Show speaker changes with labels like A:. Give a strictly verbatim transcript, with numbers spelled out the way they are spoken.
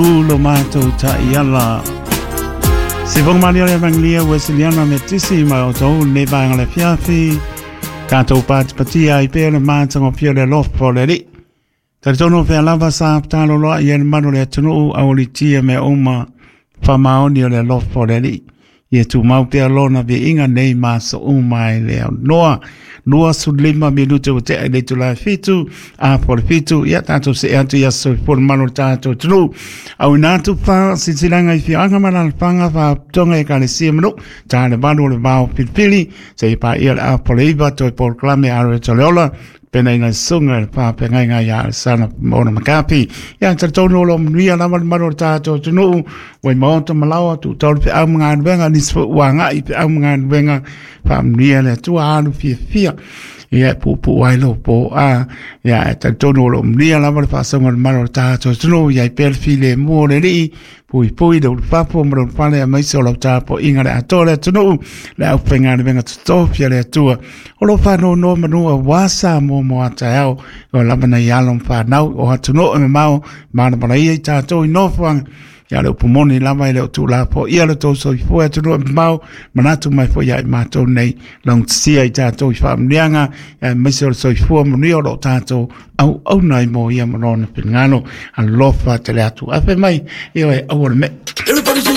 A: Lo matou ta'iala se foga malia le Evagelia Uesiliana Metisi ma outou lenei vaega le afiafi tatou patipatia ai pea le matagofie o le alofa o le Alii. Talitonu pea lava sa taloloa'i ai le malu o le atunuu aualitia mea uma faamaoni o le alofa o le Alii. Ia tumau pea lona viiga nei ma aso uma e le aunoa. Lua sulima minute ua tea i le itula e fitu, a po le fitu, ia tatou see atu i aso soifua le malu o le tatou atunuu. Auina atu faasilasilaga i afioaga ma alaalafaga faalapotopotoga i ekalesia ma nuu, ta le valu o le vao filifili, seia paia le apo le iva, toe polokalame a le Ola, pena ina susuga i le faafeagaiga ia Alesana Mona Makapi. Ia talitonu o lo o manuia lava le malu o le tatou atunuu, ua i maota ma laoa, tuutau le feau ma galuega, nisi foi ua agai i feau ma galuega, faamanuia le Atua alu fiafia. Ia e puupuu ai lou poa. Ia e talitonu o lo o manuia lava le faasoga o le malu o le tatou atunuu, ia i pea le filemu o le Alii, puipui le ulufapo ma le ulufale aemaise o lau tapuaiga le atoa o le atunuu, le aufaigaluega totofi a le Atua. O lo o faanono manu auā Samoa mo a taeao, o lava nai alo ma fanau o atunuu e mamao, malamalaia i tatou i nofoaga. Ia le upu moni lava e le o tuulafoaia le tou soifua e atunuu e mamao, manatu mai foi ia i matou nei laugatasia i tatou i faamanuiaga, aemaise o le soifua manuia o lo o tatou auauna ai mo ia ma lona finagalo. Alofa tele atu. Afe mai, ioe, aua le mea.
B: Everybody say